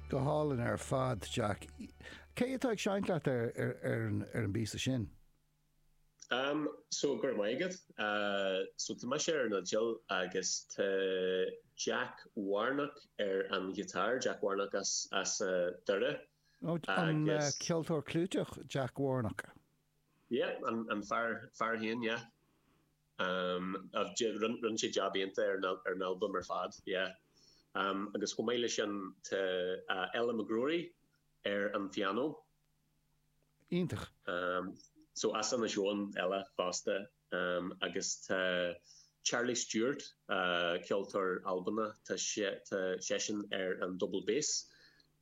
Go hálainn ar fad, Jack. Cé atá ag seinnt leat ar an bpíosa sin? Um, so go raibh maith agat. Uh, so tá mise ar an fhidil agus tá Jack Warnock ar an ghiotár, Jack Warnock as, as uh, Doire. Oh, an uh, ceoltóir clúiteach Jack Warnock. Yeah, an, an fear, fear féin, yeah. Um, rinne sé jab iontach ar an, ar an albam ar fad, yeah. Um, agus chomh maith leis sin tá uh, Ella McGrory ar an phianó. Iontach. So as Inis Eoghain Ella fosta agus tá Charlie Stewart, ceoltóir Albanach, tá seisean ar an double bass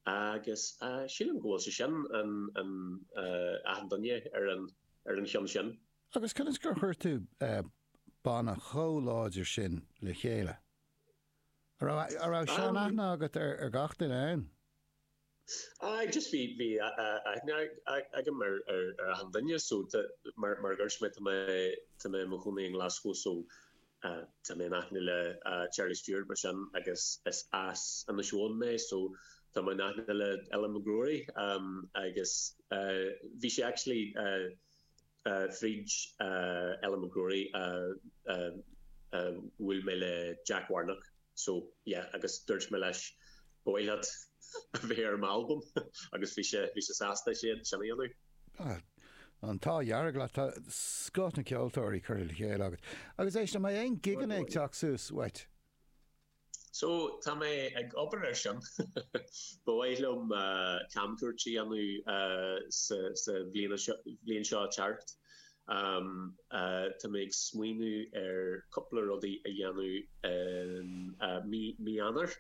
agus sílim go bhfuil sé sin an achan duine ar an ar an cheann sin. Agus conas gur chuir tú banna chomh láidir sin le chéile? An raibh sean-aithne agat ar gach duine ann? Aye, just bhí, bhí aithne agam ar, ar, ar achan duine so tá, mar, mar a dúirt mé, tá mé, tá mé i mo chónaí i nGlaschú so tá mé in aithne le Charlie Stewart mar sin agus is as Inis Eoghain mé so tá mé in aithne le Ella McGrory agus bhí sé actually fríd Ella McGrory a bhuail mé le Jack Warnock. So, yeah, agus dúirt mé leis, ba mhaith leat a bheith ar m'albam agus bhí sé, bhí sé sásta sin, sin a dhéanamh. Ah, an t-ádh dearg leat, tá scoth na ceoltóirí curtha le chéile agat. Agus éist, an mbeidh aon gigeanna ag teacht suas uait? So, tá mé ag obair air sin. Ba mhaith liom camchuairt a dhéanamh sa, sa bhliain seo, bhliain seo ag teacht. Tá mé ag smaoineamh ar cúpla rudaí a dhéanamh i mí Eanáir.